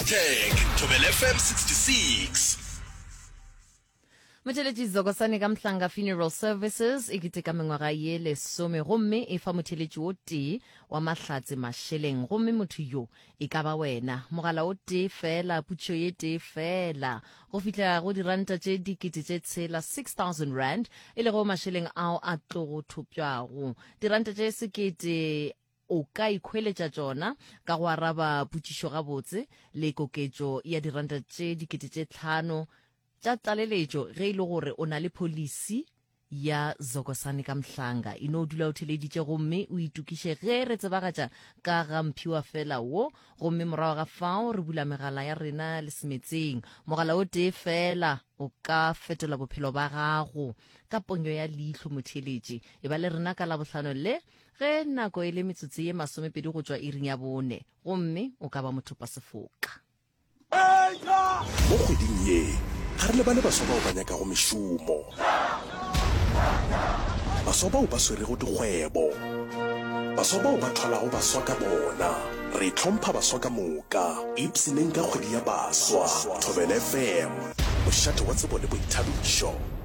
Hashtag Thobela FM 66. Motheletši Zokosane ka Mhlanga Funeral Services e keteka mengwaga ye lesome gomme e fa motheletši o tee wa mahlatse mašeleng gomme motho yo e ka ba wena. Mogala o tee fela, putšo ye tee fela go fihla go diranta tše dikete tše tshela, 6000 rand, e lego mašeleng ao a tlogo thopšwago. Diranta tše sekete O ka ikhweletša tšona ka go araba potšišo gabotse le koketšo ya diranta tše 5000 tša tlaleletšo ge e le gore o na le pholisi ya Zokosane ka Mhlanga. E no dula o theleditše gomme o itokiše ge re tsebagatša ka ga mphiwafela wo gomme morago ga fao re bula megala ya rena le semetseng. Mogala o tee feela o ka fetola bophelo ba gago ka ponyo ya leihlo motheeletši. E ba le rena ka Labohlano le Ge nako e le metsotso ye masomepedi go tšwa iring ya bone, gomme o ka ba mothopasefoka. Mo kgweding ye, ga re lebale baswa bao ba nyakago mešomo, baswa bao ba swerego dikgwebo, baswa bao ba thwalago baswa ka bona. Re hlompha baswa ka moka. Ipshineng ka kgwedi ya baswa. Thobela FM, mošate wa tsebo le boithabišo.